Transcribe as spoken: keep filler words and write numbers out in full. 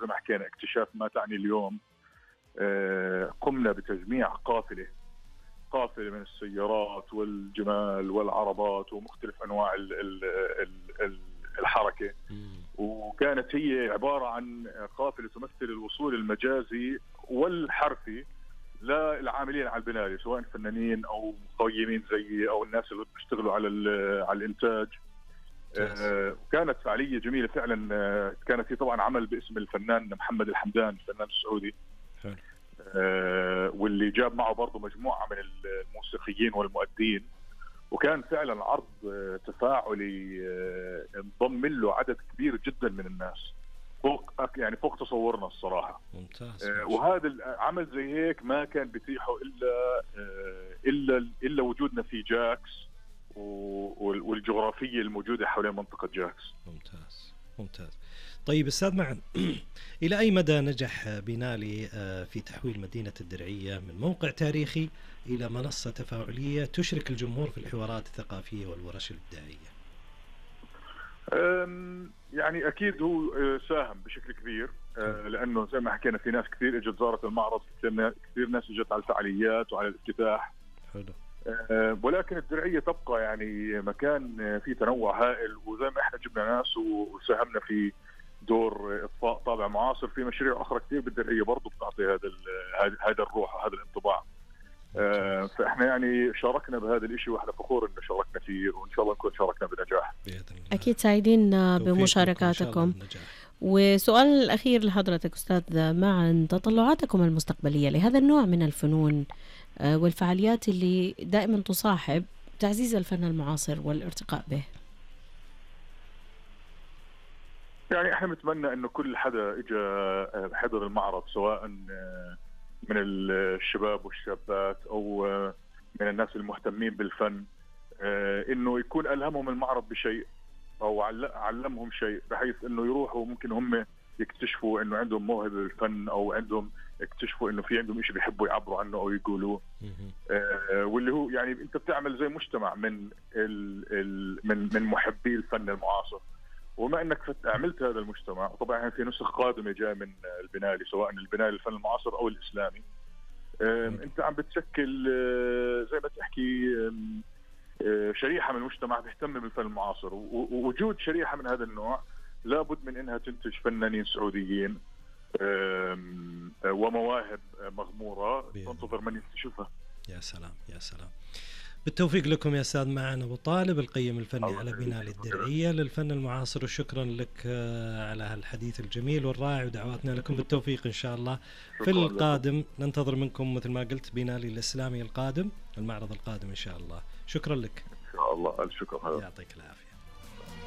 زي ما حكينا اكتشاف ما تعني اليوم، قمنا بتجميع قافلة قافلة من السيارات والجمال والعربات ومختلف أنواع ال ال ال الحركة، وكانت هي عبارة عن قافلة تمثل الوصول المجازي والحرفي للعاملين على البناية، سواء فنانين أو مقيمين زيي أو الناس اللي بيشتغلوا على على الإنتاج. آه كانت فعالية جميلة فعلا. آه كانت هي طبعا عمل باسم الفنان محمد الحمدان الفنان السعودي، آه واللي جاب معه برضه مجموعة من الموسيقيين والمؤدين، وكان فعلا عرض آه تفاعلي آه انضم له عدد كبير جدا من الناس فوق يعني فوق تصورنا الصراحة. ممتاز. آه وهذا العمل زي هيك ما كان بيتيحه إلا آه إلا إلا وجودنا في جاكس والجغرافية الموجودة حول منطقة جاكس. ممتاز ممتاز. طيب أستاذ معن، إلى أي مدى نجح بينالي في تحويل مدينة الدرعية من موقع تاريخي إلى منصة تفاعلية تشرك الجمهور في الحوارات الثقافية والورش الإبداعية؟ يعني أكيد هو ساهم بشكل كبير، لأنه زي ما حكينا في ناس كثير اجت زارت المعرض، كثير ناس اجت على الفعاليات وعلى الافتتاح. حلو. ولكن الدرعية تبقى يعني مكان فيه تنوع هائل، وزي ما احنا جبنا ناس وساهمنا في دور إضفاء طابع معاصر في مشاريع أخرى كثير بالدرعية برضو بتعطي هذا هذا الروح وهذا الانطباع. فاحنا يعني شاركنا بهذا الاشي واحنا فخور انه شاركنا فيه، وان شاء الله نكون شاركنا بنجاح. اكيد سعيدين بمشاركاتكم. وسؤال الأخير لحضرتك أستاذ معن، تطلعاتكم المستقبلية لهذا النوع من الفنون والفعاليات اللي دائما تصاحب تعزيز الفن المعاصر والارتقاء به؟ يعني احنا نتمنى انه كل حدا اجى حضر المعرض، سواء من الشباب والشابات او من الناس المهتمين بالفن، انه يكون ألهمهم المعرض بشيء او علمهم شيء، بحيث انه يروحوا ممكن هم يكتشفوا انه عندهم موهبه بالفن، او عندهم يكتشفوا انه في عندهم شيء بيحبوا يعبروا عنه او يقولوه. آه واللي هو يعني انت بتعمل زي مجتمع من ال ال من من محبي الفن المعاصر، وما انك عملت هذا المجتمع. طبعا في نسخ قادمه جايه من البنالي، سواء البنالي الفن المعاصر او الاسلامي. آه انت عم بتشكل آه زي ما تحكي آه شريحه من المجتمع تهتم بالفن المعاصر، ووجود شريحه من هذا النوع لابد من انها تنتج فنانين سعوديين ومواهب مغموره تنتظر من يكتشفها. يا سلام يا سلام. بالتوفيق لكم يا أستاذ معن أبو طالب، القيم الفني على بنالي الدرعية للفن المعاصر، وشكرا لك على هالحديث الجميل والرائع، ودعواتنا لكم بالتوفيق إن شاء الله في القادم. لكم. ننتظر منكم مثل ما قلت بنالي الإسلامي القادم، المعرض القادم إن شاء الله. شكرا لك. إن شاء الله. الشكر. يعطيك العافية.